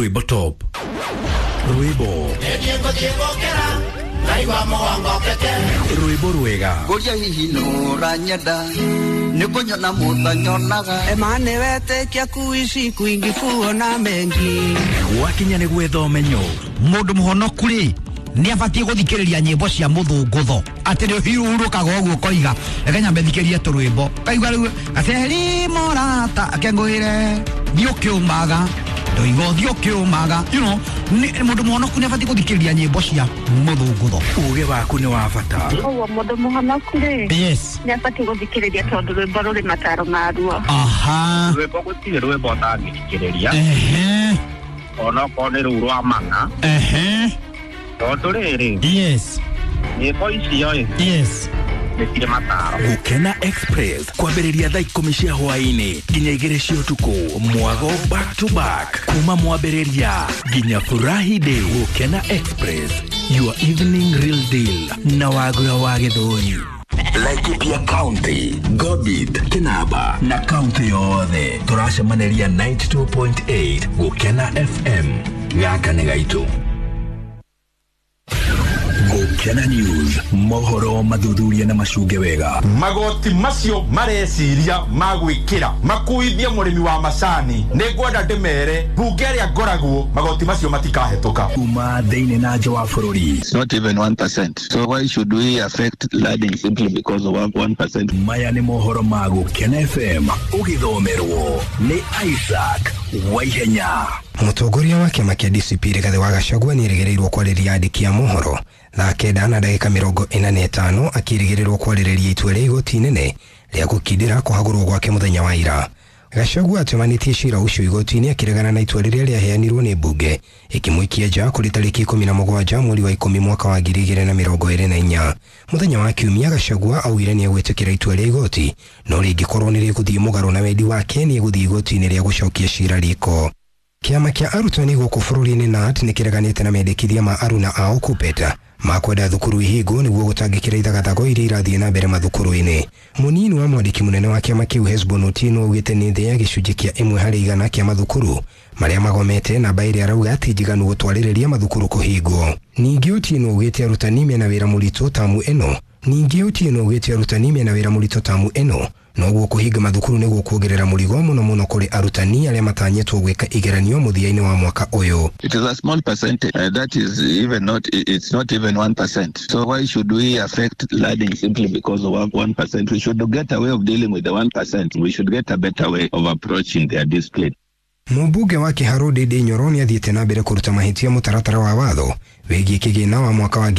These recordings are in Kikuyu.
Rwĩmbo top. Rwĩmbo. Rwĩmbo rwega. Ngoria hihi nũranyenda nĩkũnyona mũtanyonaga Emane wetĩkia kuishi kwingi kuona mengi. Gwakinya nĩ gwetha ũmenyo. Mũndũ mũhonoku rĩ nĩ abatiĩ gũthikĩrĩria nyĩmbo cia mũthũngũtho atĩ nĩ ũhurũkaga ũguo ũkoiga reke nyambe thikĩrie tũrwĩmbo kaigua rĩu gaceri mũrata akengũĩre thiĩ ũkĩũmaga ndoiga ũthiĩ ũkĩũmaga you know mũndũ mũhonoku nĩ abatiĩ gũthikĩrĩria nyĩmbo cia mũthũngũtho. Uge waku nĩ wa bata. Ũguo mũndũ mũhonoku rĩ yes nĩ abatiĩ gũthikĩrĩria tondũ rwĩmbo rũrĩ mataro maruo. Aha. Rwĩmbo gũtirĩ rwĩmbo ũtangĩthikĩrĩria. Ehe. Onokorwo nĩ rũu rwa mana. Ehe. Tondũ rĩrĩ yes nyĩmbo icio ĩ yes nĩ cirĩ mataro. Gũkena Express kwambĩrĩria thaa 10 cia hwaĩ-inĩ nginya 2 cia ũtukũ. Mwago back to back kuma mwambĩrĩria nginya Furahi Day. Gũkena Express, your evening real deal na Wagura wa Gĩthũri. Laikipia County, Gobit, Kinaba na kaunti yothe tũracemanĩria 92.8 Gũkena FM. Gaka nĩ gaitũ. Gũkena News, mohoro mathuthuria na macunge wega. Magoti macio mareciria ma gwĩkĩra makuithie mũrĩmi wa macani nĩ ngwenda ndĩmere mbunge ĩrĩa ngoragwo magoti macio matikahetũka. Kuma thĩinĩ na nja wa bũrũri. It's not even 1%. So why should we affect learning simply because of 1%? Maya nĩ mohoro ma Gũkena FM ũgĩthomerwo nĩ Isaac Waihenya. Mũtongoria wa kĩama kĩa DCP Rigathĩ wa Gachagua nĩerĩgĩrĩirwo kwarĩria andĩki a mohoro thaa 9:45 akĩrĩgĩrĩrwo kwarĩrĩria itua rĩa igoti inene rĩa gũkindĩra kũhagũrwo gwake mũthenya wa ira. Gachagua atemanĩtie cira ũcio igoti-inĩ akĩregana na itua rĩrĩa rĩaheanirwo nĩ mbunge ĩkĩmũikia nja kũrĩ tarĩki 17 mweri wa 10 mwaka wa 2024. Mũthenya wa Kiumia Gachagua augire nĩegwĩtĩkĩra itua rĩa igoti no rĩngĩkorwo nĩ rĩgũthiĩ mũgarũ na wendi wake nĩegũthiĩ igoti-inĩ rĩa gũcokia cira riko. Kĩama kĩa arutani gũkũ bũrũri-inĩ KNUT nĩkĩreganĩte na mendekithia ma aruna ao KUPPET ma kwenda thukuru ihingwo nĩguo gũtangĩkĩra ithagathago iria irathiĩ na mbere mathukuru-inĩ. Mũnini wa mwandĩki mũnene wa kĩama kĩu Hesbon Otieno augĩte nĩ thĩ ya gĩcunjĩ kĩa 1% kĩa mathukuru marĩa magomete, namba ĩrĩa arauga ti njiganu gũtwarĩrĩria mathukuru kũhingwo. Ningĩ Otieno augĩte arutani mena wĩra mũritũ tamu ĩno. Ningĩ Otieno augĩte arutani mena wĩra mũritũ tamu ĩno noguo kũhinga mathukuru nĩguo kuongerera mũrigo mũno mũno kũrĩ arutani arĩa matanyĩtwo gwĩka igeranio mũthia-inĩ wa mwaka ũyũ. It is a small percentage. That is even not, it's not even 1%. So why should we affect learning simply because of 1%? We should get a way of dealing with the 1%. We should get a better way of approaching their discipline. Mũmbunge wa Kĩharũ Ndindi Nyoro nĩathiĩte na mbere kũruta mahĩtia mũtaratara wa watho wĩgiĩ kĩgĩna wa mwaka wa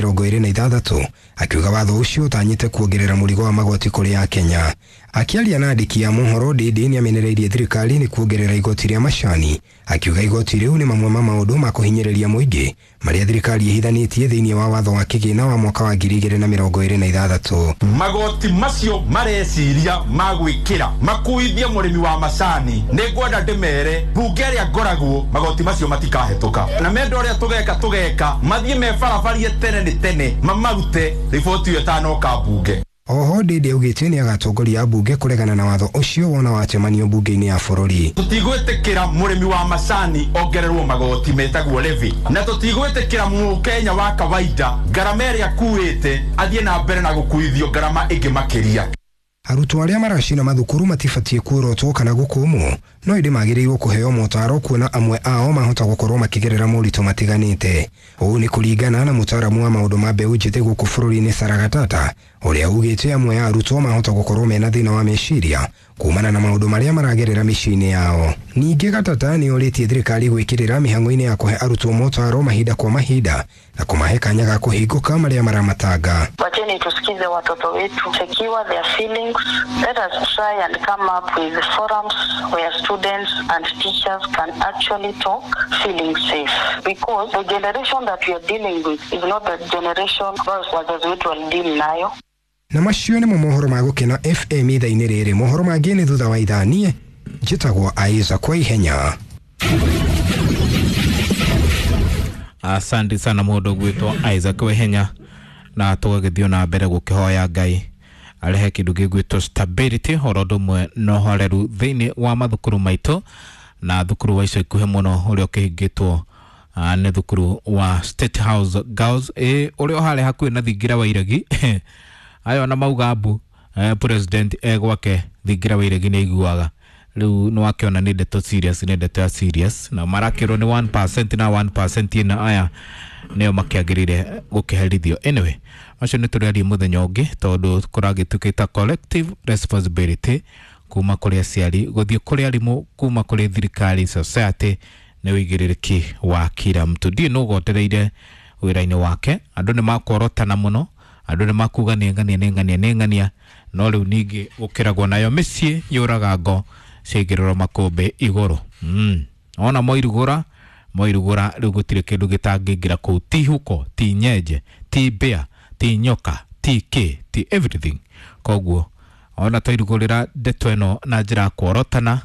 2026 akiuga watho ũcio ũtanyĩte kuongerera mũrigo wa magoti kũrĩ Akenya. Akĩaria na andĩki a mohoro, Ndindi nĩamenereirie thirikari nĩ kuongerera igoti rĩa macani akiuga igoti rĩu nĩ mamwe ma maũndũ ma kũhinyĩrĩria mũingĩ marĩa thirikari ĩhithanĩtie thĩinĩ wa watho wa kĩgĩna wa mwaka wa 2026. Magoti macio mareciria ma gwĩkĩra makuithie mũrĩmi wa macani nĩ ngwenda ndĩmere mbunge ĩrĩa ngoragwo magoti macio matikahetũka na menda ũrĩa tũgeka mathiĩ me barabarie tene nĩ tene mamarute riboti ĩyo ĩtanoka mbunge. Oho Ndindi augĩte nĩagatongoria ambunge kũregana na watho ũcio wona wacemanio mbunge-inĩ ya bũrũri. Tũtigwĩtĩkĩra mũrĩmi wa macani ongererwo magoti metagwo levy na tũtigwĩtĩkĩra mũkenya wa kawaida ngarama ĩrĩa akuĩte athiĩ na mbere na gũkuithio ngarama ĩngĩ makĩria. Arutwo arĩa maracina mathukuru matibatiĩ kuorotwo kana gũkũmwo no ĩndĩ magĩrĩirwo kũheo motaro kuona amwe ao mahota gũkorwo makĩgerera moritũ matiganĩte. Ũũ nĩ kũringana na mũtaaramu wa maũndũ ma mbeũ njĩthĩ gũkũ bũrũri-inĩ Sarah Gatata ũrĩa ugĩte amwe a arutwo mahota gũkorwo mena thĩna wa meciria kumana na maũndũ marĩa maragerera mĩciĩ-inĩ yao. Ningĩ Gatata nĩ orĩtie thirikari gwĩkĩrĩra mĩhang'o-inĩ ya kũhe arutwo motaro mahinda kwa mahinda na kũmahe kanya ga kũhingũka marĩa maramatanga. Wacheni tusikize watoto wetu, secure their feelings. Let us try and come up with forums where students and teachers can actually talk feeling safe, because the generation that we are dealing with is not the generation wazazi wetu walideal nayo. Na macio nĩmo mohoro ma Gũkena FM ithaa-inĩ rĩrĩ. Mohoro mangĩ nĩ thutha wa ithaa. Niĩ njĩtagwo Isaac Waihenya. Asante sana mũndũ gwĩtwo Isaac Waihenya, na tũgagĩthiĩ na mbere gũkĩhoya Ngai arehe kĩndũ gĩgwĩtwo stability oro ũndũ ũmwe na ũhoreru thĩinĩ wa mathukuru maitũ Na thukuru wa ica ikuhĩ mũno ũrĩa ũkĩhingĩtwo nĩ thukuru wa State House Girls ũrĩa ũharĩa hakuhĩ na thingira wa iregi. Ayo na mauga mbu president gwake thingira wa iregi nĩ aiguaga rĩu nĩ wakĩona nĩ ndeto serious, nĩ ndeto ya serious, na marakĩrwo nĩ 1% na 1% na aya nĩo makĩagĩrĩire gũkĩherithio. Anyway, macio nĩ tũrĩarie mũthenya ũngĩ tondũ kũragĩtuĩkĩta collective responsibility kuma kũrĩ aciari gũthiĩ kũrĩ arimũ, kuma kũrĩ thirikari, society nĩ ũigĩrĩrĩki wa kila mtu. Ndiĩ nũ ũgotereire wĩra-inĩ wake, andũ nĩ makworotana mũno, andũ nĩ makuga nĩ ng'ania nĩ ng'ania nĩ ng'ania, no rĩu ningĩ gũkĩragwo nayo mĩciĩ yũraga ngo ciaigĩrĩrwo makũmbĩ igũrũ. Ona moirugũra rĩu gũtirĩ kĩndũ gĩtangĩingĩra kũu, ti huko, ti nyenje, ti mbĩa, ti nyoka, ti kĩ, ti everything. Koguo ona twairugũrĩra ndeto ĩno na njĩra ya kworotana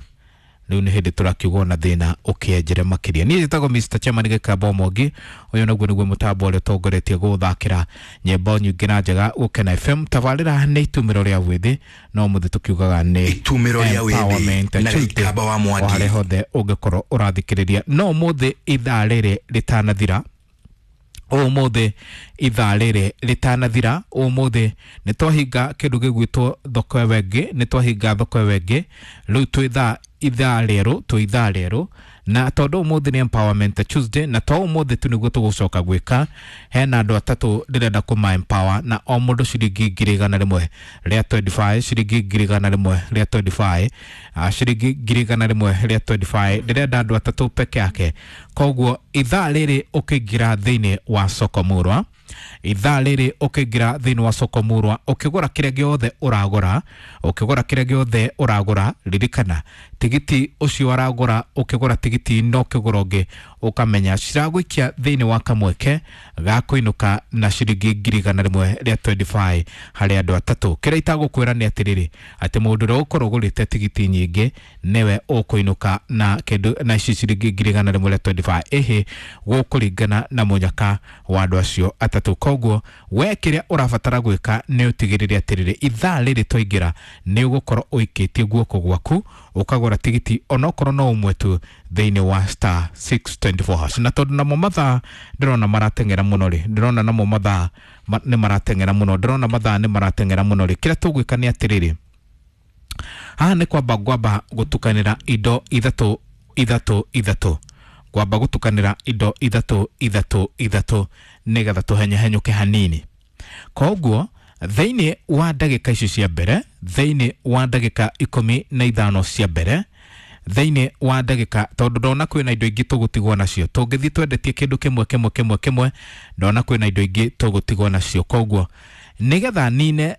rĩu nĩ hĩndĩ tũrakiuga ona thĩna ũkĩenjere makĩria. Niĩ njĩtagwo Mr. Chairman Gĩkamba Mwangi, ũyũ naguo nĩguo mũtambo ũrĩa ũtongoretie gũthakĩra nyĩmbo nyingĩ na njega Gũkena FM. Tabarĩra nĩ itumĩro rĩa wĩthĩ, no mũthĩ tũkiugaga nĩ Itumĩro rĩa wĩthĩ na Gĩkamba wa Mwangi. O harĩa hothe ũngĩkorwo ũrathikĩrĩria. No ũmũthĩ ithaa rĩrĩ rĩtanathira, ũmũthĩ ithaa rĩrĩ rĩtanathira, ũmũthĩ nĩ twahinga kĩndũ gĩgwĩtwo thoko ĩyo ĩngĩ, nĩ twahinga thoko ĩyo ĩngĩ, rĩu twĩ thaa ithaa rĩerũ, twĩ ithaa rĩerũ, na tondũ ũmũthĩ nĩ Empowerment Tuesday, na to ũmũthĩ tu nĩguo tũgũcoka gwĩka, hena andũ atatũ ndĩrenda kũma empower na o mũndũ ciringi 100,000 rĩa 25, ciringi 100,000 rĩa 25, ciringi 100,000 rĩa 25, ndĩrenda andũ atatũ peke yake. Koguo ithaa rĩrĩ ũkĩingĩra thĩinĩ wa soko murwa, ithaa rĩrĩ ũkĩingĩra thĩinĩ wa soko murwa, ũkĩgũra kĩrĩa gĩothe ũragũra, ũkĩgũra kĩrĩa gĩothe ũragũra, ririkana tigiti ũcio ũragũra, ũkĩgũra tigiti no ũkĩgũra ũngĩ, ũkamenya ciragũikia thĩinĩ wa kamweke ga kũinũka na ciringi 100,000 rĩa 25 harĩ andũ atatũ. Kĩrĩa itagũkwĩra nĩ atĩrĩrĩ, atĩ mũndũ ũrĩa ũgũkorwo ũgũrĩte tigiti nyingĩ nĩwe ũkũinũka na kĩndũ na ici ciringi 100,000 rĩa 25, ĩhĩ gũkũringana na mũnyaka wa andũ acio atatũ. Koguo we kĩrĩa ũrabatara gwĩka nĩ ũtigĩrĩre atĩrĩrĩ, ithaa rĩrĩ twaingĩra nĩ ũgũkorwo ũikĩtie guoko gwaku ũkagũra tigiti onokorwo no ũmwe tu thĩinĩ wa star 624 hash. Na tondũ namo mathaa ndĩrona marateng'era mũno rĩ, ndĩrona namo mathaa nĩ marateng'era mũno, ndĩrona mathaa nĩ marateng'era mũno rĩ, kĩrĩa tũgwĩka nĩ atĩrĩrĩ, haha nĩ kwamba ngwamba gũtukanĩra indo ithatũ ithatũ ithatũ, kwamba gũtukanĩra indo ithatũ ithatũ ithatũ nĩgetha tũhenyehenyũke hanini. Koguo thĩinĩ wa ndagĩka ici cia mbere, thĩinĩ wa ndagĩka 15 cia mbere, thĩinĩ wa ndagĩka, tondũ ndona kwĩna indo ingĩ tũgũtigwo nacio, tũngĩthiĩ twendetie kĩndũ kĩmwe kĩmwe kĩmwe kĩmwe, ndona kwĩna indo ingĩ tũgũtigwo nacio. Koguo nĩgetha nine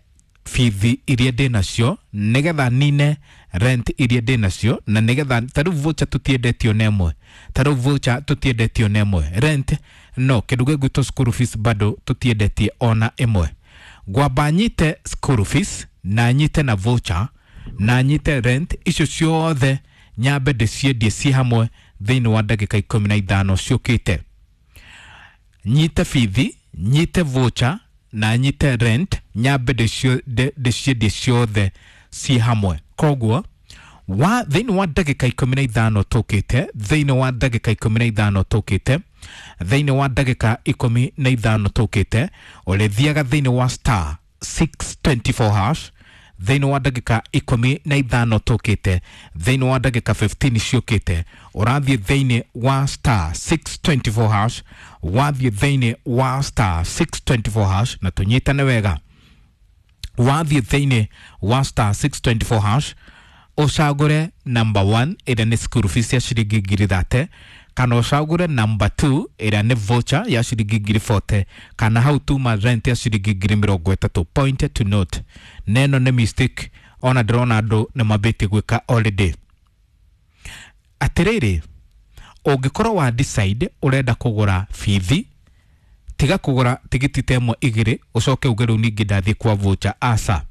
bithi iria ndĩ nacio, nĩgetha nine rent iria ndĩ nacio, na nĩgetha ta rĩu voucher tũtiendetio na ĩmwe, ta rĩu voucher tũtiendetio na ĩmwe, rent no kĩndũ gĩgwĩtwo school fees bado tũtiendetie ona ĩmwe. Ngwamba nyite school fees na nyite na voucher na nyite rent, icio ciothe nyambe ndĩciendie ci hamwe thĩinĩ wa ndagĩka 15 ciũkĩte. Nyite bithi, nyite voucher na nyite rent, nyambe ndĩciendie ciothe ci hamwe. Koguo wa thĩinĩ wa ndagĩka 15 tũkĩte, thĩinĩ wa ndagĩka 15 tũkĩte, thĩinĩ wa ndagĩka 15 tũkĩte, ũrĩthiaga thĩinĩ wa star 624 hash thĩinĩ wa ndagĩka 15 tũkĩte, thĩinĩ wa ndagĩka 15 ciũkĩte, ũrathiĩ thĩinĩ wa star 624 hash, wathiĩ thĩinĩ wa star 624 hash, na tũnyitane wega, wathiĩ thĩinĩ wa star 624 hash ũcagũre number 1 ĩrĩa nĩ school fees ya ciringi 30,000, kana ũcagũre number 2 ĩrĩa nĩ voucher ya ciringi 40,000, kana hau tuma rent ya ciringi 30,000. Point to note, neno nĩ mistake ona ndĩrona andũ nĩ mambĩtie gwĩka already. Atĩrĩrĩ, ũngĩkorwo wa decide ũrenda kũgũra bithi, tiga kũgũra tigiti ta ĩmwe igĩrĩ ũcoke uge rĩu ningĩ ndathiĩ kwa voucher, aca,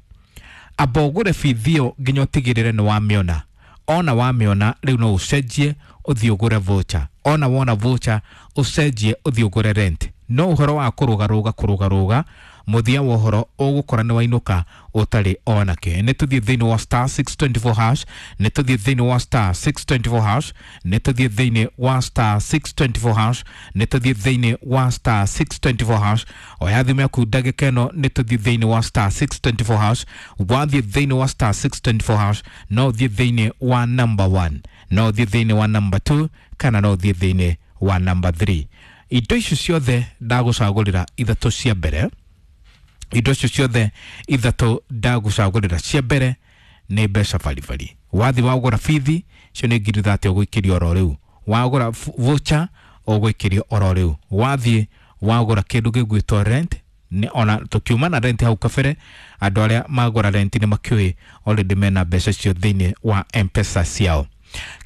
amba ũgũre bithi ĩyo nginya ũtigĩrĩre nĩ wamĩona. Ona wamĩona rĩu no ũcenjie ũthiĩ ũgũre voucher, ona wona voucher ũcenjie ũthiĩ ũgũre rent. No ũhoro wa kũrũgarũga kũrũgarũga Mũthia wa ũhoro ũgũkora nĩ wainũka ũtarĩ onake. Nĩ tũthiĩ thĩinĩ wa star 624 hash, nĩ tũthiĩ thĩinĩ wa star 624 hash, nĩ tũthiĩ thĩinĩ wa star 624 hash, nĩ tũthiĩ thĩinĩ wa star 624 hash. Oya thimũ yaku ndagĩka ĩno, nĩ tũthiĩ thĩinĩ wa star 624 hash. Wathiĩ thĩinĩ wa star 624 hash, no ũthiĩ thĩinĩ wa number 1, no ũthiĩ thĩinĩ wa number 2, kana no ũthiĩ thĩinĩ wa number 3. Indo icio ciothe ndagũcagũrĩra ithatũ cia mbere, indo icio ciothe ithatũ ndagũcagũrĩra cia mbere nĩ mbeca baribari. Wathi wagũra bithi cio nĩ 30,000 ũgũikĩrio oro rĩu, wagũra voucher ũgũikĩrio oro rĩu, wathiĩ wagũra kĩndũ gĩgwĩtwo rent, nĩ ona tũkiuma na rent hau kabere, andũ arĩa magũra rent nĩ makĩũĩ already mena mbeca icio thĩinĩ wa M-Pesa ciao.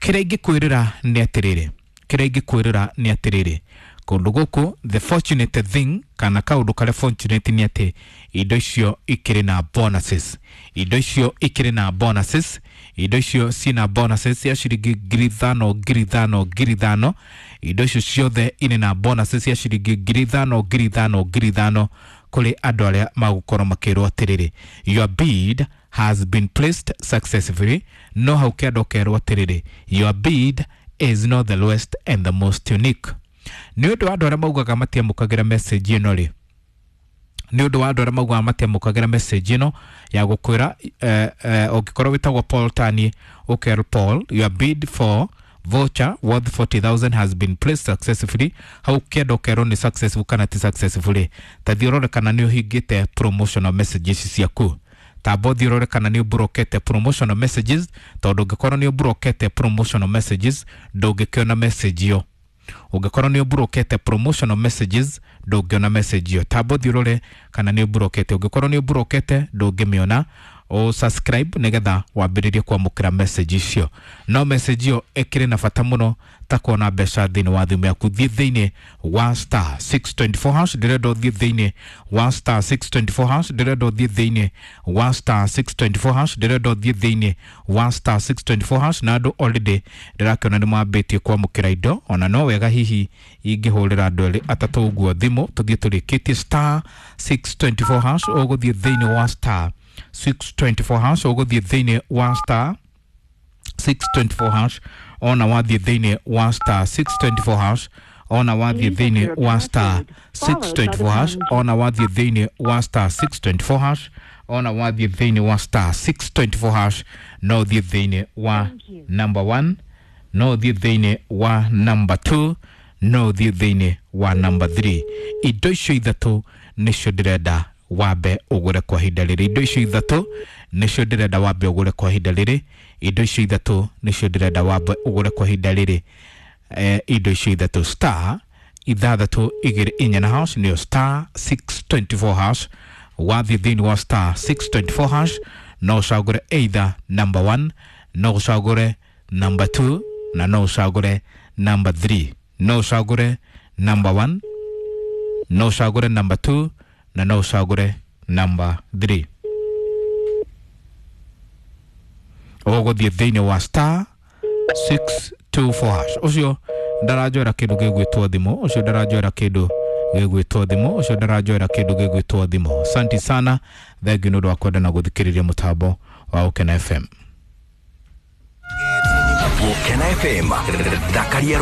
Kĩrĩa ingĩkwĩrĩra nĩ atĩrĩrĩ, kĩrĩa ingĩkwĩrĩra nĩ atĩrĩrĩ, kũndũ gũkũ the fortunate thing, kana kaũndũ karĩa fortunate nĩ atĩ indo icio ikĩrĩ na bonuses, indo icio ikĩrĩ na bonuses, indo icio ciĩna bonuses cia ciringi 5,000 5,000 5,000. Indo icio ciothe irĩ na bonuses cia ciringi 5,000 5,000 5,000 kũrĩ andũ arĩa magũkorwo makĩrwo atĩrĩrĩ, your bid has been placed successfully. No hau kĩanda ũkerwo atĩrĩrĩ, your bid is not the lowest and the most unique. Nĩ ũndũ wa andũ arĩa maugaga matiamũkagĩra message ĩno rĩ, nĩ ũndũ wa andũ arĩa maugaga matiamũkagĩra message ĩno ya gũkwĩra, ũngĩkorwo wĩtagwo Paul Tani, ũkerwo Paul, your bid for voucher worth 40,000 has been placed successfully. Hau kĩanda ũkerwo nĩ successful kana ti successful. Ta thiĩ ũrore kana nĩ ũhingĩte promotional messages ciaku. Tamba ũthiĩ ũrore kana nĩ ũmburokete promotional messages, tondũ ũngĩkorwo nĩ ũmburokete promotional messages ndũngĩkĩona message ĩyo. Ũngĩkorwo nĩ ũmburokete promotional messages ndũngĩona message ĩyo. Tamba ũthiĩ ũrore kana nĩ ũmburokete. Ũngĩkorwo nĩ ũmburokete ndũngĩmĩona. O subscribe nĩgetha wambĩrĩrie kwamũkĩra message icio. No message ĩyo ĩkĩrĩ na bata mũno ta kuona mbeca thĩinĩ wa thimũ yaku. Thiĩ thĩinĩ wa star 624 hash, ndĩrenda ũthiĩ thĩinĩ wa star 624 hash, ndĩrenda ũthiĩ thĩinĩ wa star 624 hash, ndĩrenda ũthiĩ thĩinĩ wa star 624 hash. Na andũ already ndĩrakĩona nĩ mambĩtie kwamũkĩra indo, ona no wega hihi ingĩhũrĩra andũ erĩ atatũ ũguo thimũ tũthiĩ tũrĩkĩtie star 624 hash. Ũgũthiĩ thĩinĩ wa star 624 hash, ũgũthiĩ thĩinĩ wa star 624 hash, ona wathiĩ thĩinĩ wa star 624 hash, ona wathiĩ thĩinĩ wa star 624 hash, ona wathiĩ thĩinĩ wa star 624 hash, ona wathiĩ thĩinĩ wa star 624 hash, no ũthiĩ thĩinĩ wa number 1, no ũthiĩ thĩinĩ wa number 2, no ũthiĩ thĩinĩ wa number 3. Indo icio ithatũ nĩcio ndĩrenda wambe ũgũre kwa ihinda rĩrĩ. Indo icio ithatũ nĩcio ndĩrenda wambe ũgũre kwa ihinda rĩrĩ. Indo icio ithatũ nĩcio ndĩrenda wambe ũgũre kwa ihinda rĩrĩ. Indo icio ithatũ star 624 na hash, nĩyo star 624 hash. Wathiĩ thĩinĩ wa star 624 hash, no ũcagũre either number 1, no ũcagũre number 2, na no ũcagũre number 3. No ũcagũre number 1, no ũcagũre number 2, na no ũcagũre number 3. Ũgũthiĩ thĩinĩ wa star 624 hash. Ũcio ndaranjoera kĩndũ gĩgwĩtwo thimũ, ũcio ndaranjoera kĩndũ gĩgwĩtwo thimũ, ũcio ndaranjoera kĩndũ gĩgwĩtwo thimũ. Asante sana, thengiũ nĩ ũndũ wa kwenda na gũthikĩrĩria mũtambo wa Ũkena FM. Ũkena FM, thakaria.